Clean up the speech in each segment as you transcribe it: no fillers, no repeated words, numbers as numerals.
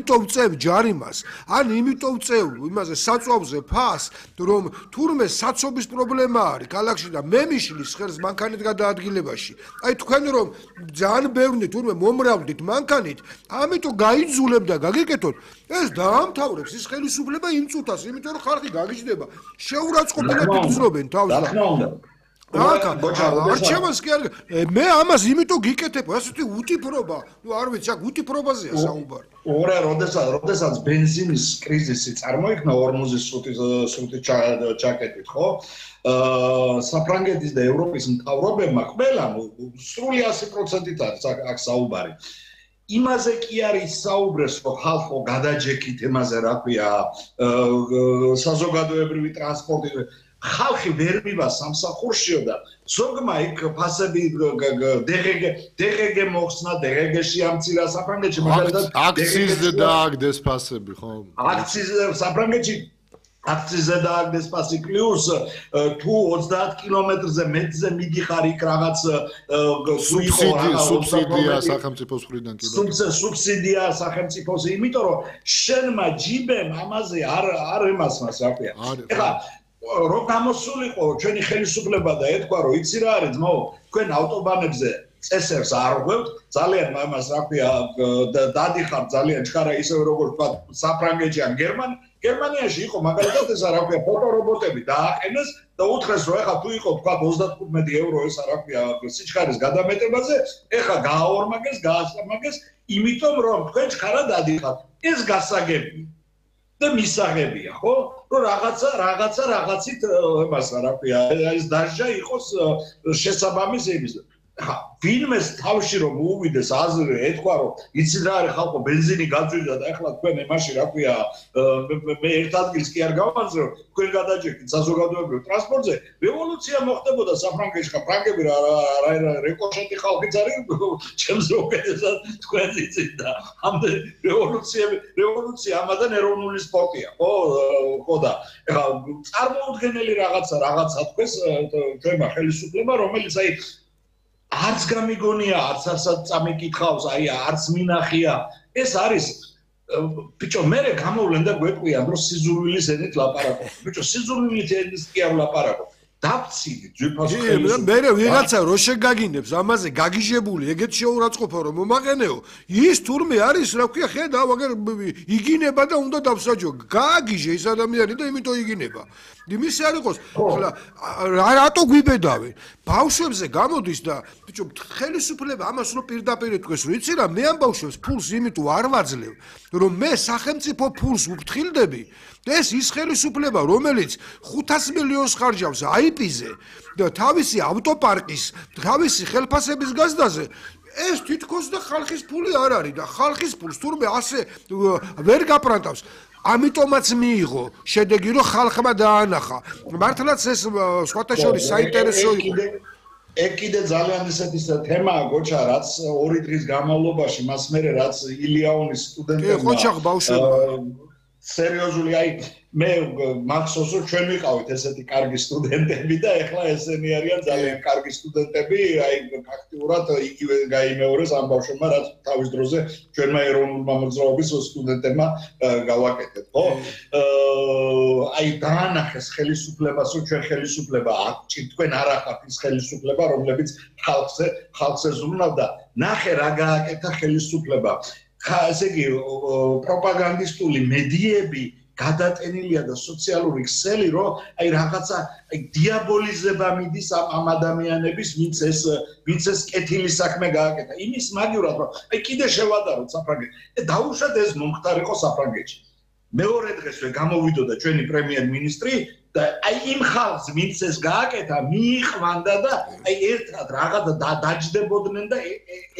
იმიტომ ვწევ ჯარიმას, ან იმიტომ ვწევ იმაზე საწვავზე ფას, რომ თურმე საცობის პრობლემა არის ქალაქში და მე მიშლის ხერს მანქანით გადაადგილებაში. აი თქვენ რომ ძალიან ბევრი თურმე მომრავლდით მანქანით, ამიტომ გაიძულებ და გაგიკეთოთ, ეს დაამთავრებს ის ხელისუფლება იმ წუთას, იმიტომ რომ ხალხი გაგიჯდება. შეურაცხყოფილად იგრძნობენ თავს და არჩევანს კი არ მე ამას იმიტომ გიკეთებ, ასეთი უტიფრობა, არ ვიცი, აქ უტიფრობაზეა საუბარი. ორა, როდესაც ბენზინის კრიზისი წარმოიქმნა 45 ჩაკეტით, ხო? საფრანგეთის და ევროპის მთავრობებმა ყველამ სრული 100%-ით არის აქ საუბარი. იმაზე კი არის საუბრეს, რომ ხალხო გადაჯექით იმაზე, რა ქვია, საზოგადოებრივი ტრანსპორტი ხალხი ვერ მივა სამსახურშიო და ზოგმა იქ ფასები DGG მოხსნა, DGG-ში ამცირა საფრანგეთში მაგალითად აქციზზე დააგდეს ფასები, ხო? აქციზზე საფრანგეთში აქციზზე დააგდეს ფასი პლუს თუ 30 კილომეტრზე მეტზე მიდიხარ იქ რაღაც სუბსიდია სახელმწიფოს მხრიდან კი სუბსიდია სახელმწიფოს, იმიტომ რომ შენმა ჯიბემ ამაზე არ ემასმას, რა ქვია. ეხლა რო გამოსულიყო ჩვენი ხელისუფლება და ეთქვა რომ იცი რა არის ძმაო, თქვენ ავტობანებზე წესებს არ ღვევთ, ძალიან ამას რა ქვია დადიხართ ძალიან ჩქარა ისე როგორც თქვა საფრანგეთში ან გერმანიაში იყო მაგალითად ესა რა ქვია ფოტორობოტები დააყენეს და უთხრეს რომ ეხლა თუ იყო თქვა 35 евро ესა რა ქვია სიჩქარის გადამეტებაზე, ეხლა გააორმაგეს, გაასამაგეს, იმიტომ რომ თქვენ ჩქარა დადიხართ. ეს გასაგებია და მისაღებია, ხო? რომ რაღაცით იმას რა ქვია, ეს დაჟა იყოს შესაბამის იმის. ხა, ვინმეს თავში რომ უვიდეს აზრი, ეთქვა რომ იცი რა არის ხალხო, ბენზინი გაძვირდა და ეხლა თქვენ იმაში რა ქვია, მე ერთ ადგილს კი არ გავანძრო, თქვენ გადაჯექით საზოგადოებრივ ტრანსპორტზე, რევოლუცია მოხდებოდა საფრანგეთში, ხა ფრანგები რა რეკოშეტი ხალხიც არის, ჩემს უკეთესად თქვენ იცით და ამდე რევოლუცია ამადან ეროვნული სპორტია, ხო და ეხლა წარმოუდგენელი რაღაცა თქვენს ჩვენმა ხელისუფლება, რომელიც აი არც გამიგონია, არც წამიკითხავს, აი არც მინახია. ეს არის ბიჭო, მე გამოვლენ და გვეკვიან, რომ სიზურვილის ენით ლაპარაკობ. ბიჭო, სიზურვილის ენის კი არ ლაპარაკობ. დაფცინით ძვირფასო ხელისუფლება. მე ვიღაცა რო შეგაგინებს ამაზე გაგიჟებული, ეგეთ შეურაცხყოფა რომ მომაყენეო, ის თურმე არის, რა ქვია, ხედავ, აგერ იგინება და უნდა დავსაჯო. გააგიჟე ის ადამიანი და იმიტომ იგინება. იმის არ იყოს, ხლა რატო გვიბედავენ? ბავშვებზე გამოდის და ბიჭო, ხელისუფლება ამას რო პირდაპირ ეთქვეს, რომ იცი რა, მე ამ ბავშვებს ფულს იმიტომ არ ვაძლევ, რომ მე სახელმწიფო ფულს ვფრთხილდები. ეს ის ხელისუფლება, რომელიც 500 მილიონს ხარჯავს IP-ზე და თავისი ავტოპარკის, თავისი ხელფასების გაზდაზე, ეს თითქოს და ხალხის ფული არ არის და ხალხის ფულს თურმე ასე ვერ გაპრანტავს. ამიტომაც მიიღო შედეგი, რომ ხალხმა დაანახა. მართლაც ეს სხვათა შორის საინტერესო იყო. ეგ კიდე ძალიან ისეთი თემაა, გოჩა, რაც 2 დღის განმავლობაში მას მერე რაც ილიაონის სტუდენტებმა სერიოზული, აი მე მახსოვს რომ ჩვენ ვიყავით ესეთი კარგი სტუდენტები და ეხლა ესენი არიან ძალიან კარგი სტუდენტები, აი ფაქტიურად იგივე გაიმეორეს ამ ბავშვებმა, რაც თავის დროზე ჩვენმა ეროვნულმა მოძრაობის სტუდენტებმა გავაკეთეთ, ხო? აი დაანახეს ხელისუფლებას, რომ ჩვენ ხელისუფლება თქვენ არ ახართ ის ხელისუფლება, რომლებიც ხალხზე ზრუნავდა. ნახე რა გააკეთა ხელისუფლება. ესე იგი პროპაგანდისტული მედიები გადატენილია და სოციალური ქსელი, რომ აი რაღაცა დიაბოლიზება მიდის ამ ადამიანების, ვინც ეს კეთილი საქმე გააკეთა. იმის მაგივრად, რომ აი კიდე შევადაროთ საფრანგეთში. დაუშვათ ეს მომხდარიყო საფრანგეთში. მეორე დღესვე გამოვიდოდა ჩვენი პრემიერ-მინისტრი და აი იმ ხალხს, ვინც ეს გააკეთა, მიიყვანდა და აი ერთად რაღაც დაჯდებოდნენ და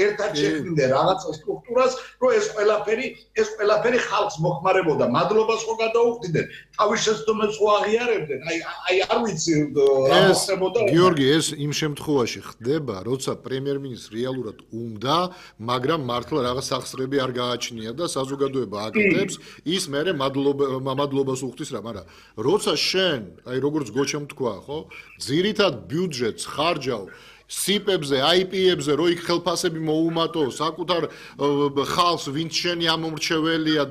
ერთად შექმნიდნენ რაღაც სტრუქტურას, რომ ეს ყველაფერი ხალხს მოხმარებოდა. მადლობას ხო გადაუხდიდნენ, თავის შეცდომებს ხო აღიარებდნენ. აი არ ვიცი მოხდებოდა. გიორგი, ეს იმ შემთხვევაში ხდება, როცა პრემიერ-მინისტრს რეალურად უნდა, მაგრამ მართლა რაღაც სახსრები არ გააჩნია და საზოგადოება აკეთებს, ის მერე მადლობას უხდის რა, მაგრამ როცა შენ აი როგორც გოჩამ თქვა, ხო? ძირითად ბიუჯეტს ხარჯავ სიპებზე, IP-ებზე, რო იქ ხელფასები მოუმატო, საკუთარ ხალხს, ვინც შენი ამომრჩეველია